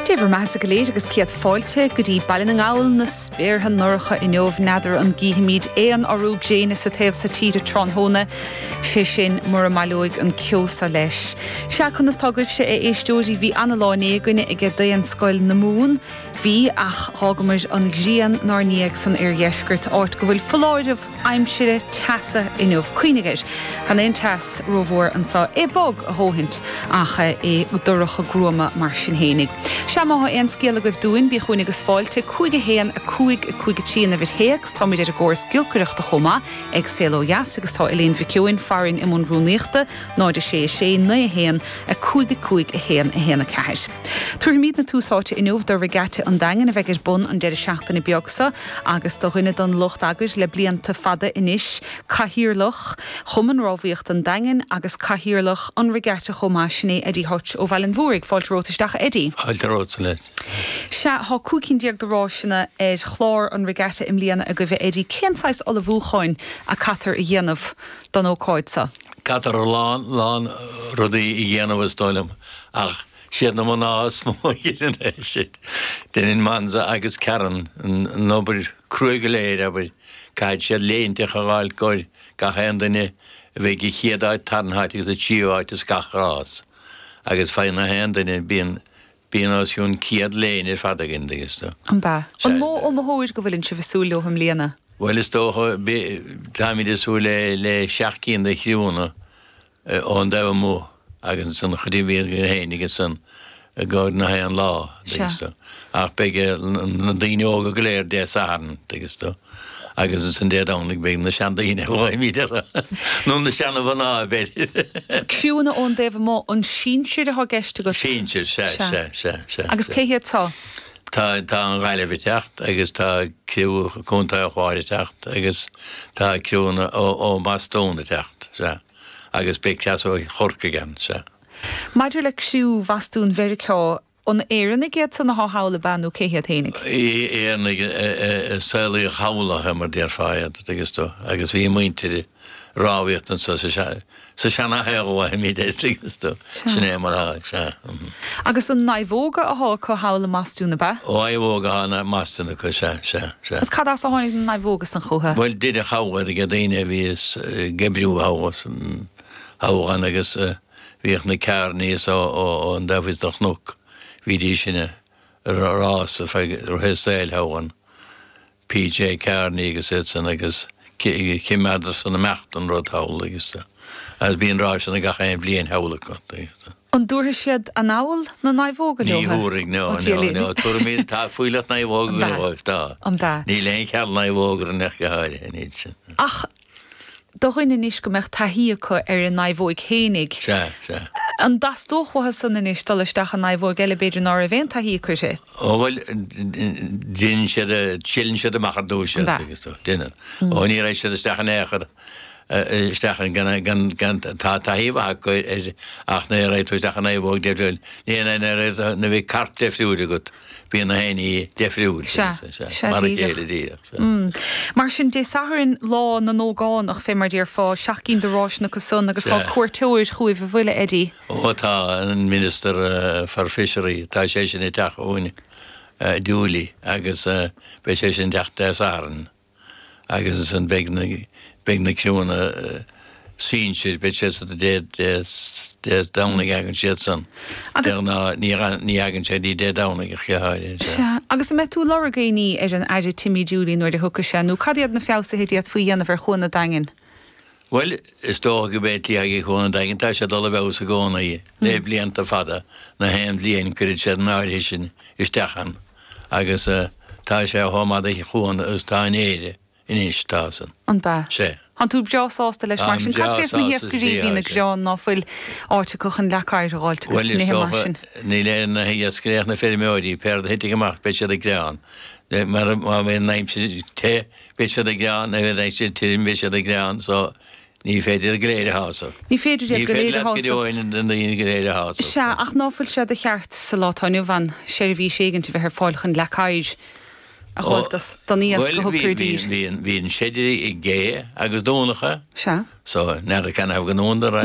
Dé bhur mbeathasa go léir agus céad fáilte go dtí Baile na nGall, na spéartha ndorcha inniu, n'fheadar an gcífimid aon urú gréine sa taobh so tíre tráthnóna, sé sin mura mbaileoidh an ceo so leis. Sea, conas tá agaibhse, a éisteoirí, bhí ana-lá inné againne aige Daonscoil na Mumhan, bhí, ach dh'fhágamair an ghrian 'nár ndiaidh san oirdheisceart, áit go bhfuil foláireamh aimsire teasa inniu. Cuimhnigh air, gan aon teas rómhór anso, é bog a dhóthaint ach é dorcha gruama mar sin fhéinig. Sea, má thá aon scéal agaibh dúinn, bí chugainn agus fáilte, 5 1 5 5 3 an uimhir théacs. Táimid ar an gcóras giolcaireachta chomh maith ag Saol Ó Dheas agus tá Elaine Mhic Eoin farainn i mbun rúnaíochta, 0 6 6 9 1 5 5 1 1 4. Tabharfaimídne tús áite inniu do Regatta an Daingin a bheidh ar bun an deireadh seachtaine beag seo agus do dhuine den lucht eagair le blianta fada anois, Cathaoirleach Chumann Rámhaíochta an Daingin agus Cathaoirleach an Regatta chomh maith, sin é Eddie Hutch ó Bhaile an Mhúraigh. Fáilte romhat isteach a Eddie. Fáilte romhat Annette. Sea, thá 15 cinn de ráiseanna ar chlár an Regatta i mbliana agaibh a Eddie. Cén saghas ullmhúcháin a caitear a dhéanamh don ócáid seo? Caitear a lán, lán rudaí a dhéanamh is dóigh liom ach siad na mná is mó a dhéanann é sin. Déanann Monza agus Karen an obair cruaidh go léir, abair. Caithfidh siad léinte a fháil gcomhair gach aon duine a bheidh sa chéad áit, tarna háit agus sa tríú háit as gach rás. Agus faigheann na haon duine, bíonn, bíonn os cionn 100 léine ar fad againn, dtuigeann tú. An bea? An mó iomaitheoir go bhfuileann sibh ag súil leo i mbliana? Bhuel, is dócha, táimid ag súil le, le seacht gcinn de chriúnna. ón dtaobh amuigh agus ansan an chuid a bhí againn fhéinig ansan i gcomhair na haon lá, dtuigeann tú. Ach beidh na daoine óga go léir Dé Sathairn, dtuigeann tú, agus ansan Dé Domhnaigh beidh na seandaoine, a ghlaoimid orthu, nó na seana-mhná, b'fhéidir. Criúnna ón dtaobh amuigh, an sinsir atá i gceist agat? Sinsir, sea, sea, sea, sea. Agus cé hiad so? Tá, tá an Ghaillimh ag teacht agus tá criú Contae an Chláir ag teacht agus tá criúnna ó, ó mBostún ag teacht, sea. Agus beidh cleas ó Chorcaigh ann, sea. Maidir le criú Bhostún Mheiriceá, an Éireannaigh iad san athá thall ab ea nó cé hiad fhéinig? Éireannaigh a saolaíodh thall ach mar déarfá iad, dtuigeann tú, agus bhí a muintir ag rámhaíocht anso sa sa seanashaol a bhfaighimid é, dtuigeann tú, sin é mar atá, sea. Agus an naomhóga athá acu thall i mBostún ab ea? Naomhóga athá i mBostún acu, sea, sea, sea. Agus cad as a tháinig na naomhóga san chúthu? Bhuel, deineadh thall iad ag daoine a bhí ag oibriú thall, thall ann agus bhíodh na Kearneys ón dtaobh thíos den chnoc, bhídís sin ag rás feadh rith an tsaoil thall ann. PJ Kearney agus iad san agus choimeádadar san imeacht an rud thall agus agus bíonn ráiseanna gach aon bhliain thall acu. An dtabharfaidh siad anall na naomhóga leo? Ní thabharfaidh, no, no, no, tabharfaimid, tá fuílleach naomhóga againn dóibh, tá. An bea? Níl aon cheal naomhóg orainn ach go háirithe, níl sin. Ach do dhuine anois go mbeadh taithí acu ar a naomhóig fhéinig, Sea, sea. an dteastódh uathu san anois dul isteach i naomhóig eile b'fhéidir ná raibh aon taithí acu uirthi? Ó bhuel, déanann siad, triaileann siad amach ar dtús iad, agus tú, déanann. Ó ní raghaidh siad isteach in aon chor, isteach in gan, gan, gan, tá taithí mhaith acu air ach ní raghaidh tú isteach i naomhóg difriúil, ní, ní, ní raghaidh tú, nuair a bheidh cairt difriúil agat, bíonn na héinní difriúil, Sea, sea, mar a chéile díreach, sea. Mar sin, Dé Sathairn, lá na n-ógánach, fé mar déarfá, seacht gcinn de ráiseanna acu san agus tá cuairteoir chugaibh an bhfuil, a Eddie? Ó tá, an Minister for Fishery, tá sé sin ag teacht chugainn, Dooley, agus beidh sé sin ag teacht Dé Sathairn agus ansan beidh na, beidh na criúnna sinsir, beidh siad san Dé, Dé, Dé Domhnaigh thagann siad san. Agus. De ghnáth ní, ní thagann sé dtí Dé Domhnaigh ach go háirithe, sea. Sea, agus an mbeidh tú ag lorg aon ní ar an Aire Timmy Dooley nuair a thiocfaidh sé, nó cad iad na feabhsuithe a d'fhéadfaí a dhéanamh ar Chuan an Daingin? Bhuel, is dócha go mbeidh tslí ag Cuan an Daingin, tá sé ag dul i bhfeabhas i gcónaí le blianta fada, na haon bhliain cuireann siad an áirithe sin isteach ann agus tá sé chomh maith do chuan agus tá in Éire anois, tá san. An bea? Sea. Tánn tú breá sásta leis mar Táim sin. breá Cad fés na sásta, hiascairí a sea, bhíonn ag sea. gearán ná fuil áit acu chun leac oighir a dh'fháilt agus Bhuel, is nithe mar dócha, sin? níl ar na hiascairí ach na feirmeoirí, péard a thitfidh amach beidh siad ag gearán. Mar má bhíonn an aimsir te, Beidh siad ag gearán, nuair a bheidh siad tirim, beidh siad ag gearán, so ní féidir iad go léir a shásamh. Ní féidir iad Ní go féidir léir a leat go shásamh. deo na daoine go léir a shásamh. Sea, ach ná fuil sé de cheart sa lá atá inniu ann seirbhís éigint a bheith ar fáil chun leac oighir a Ó, dh'fháilt dos don iasc bhuel, a bhí, thugtar i bhí, dtír? bhí, bhí an seidr ag gé agus dúnacha, Sea. so n'fheadar canathaobh go ndúnadar é.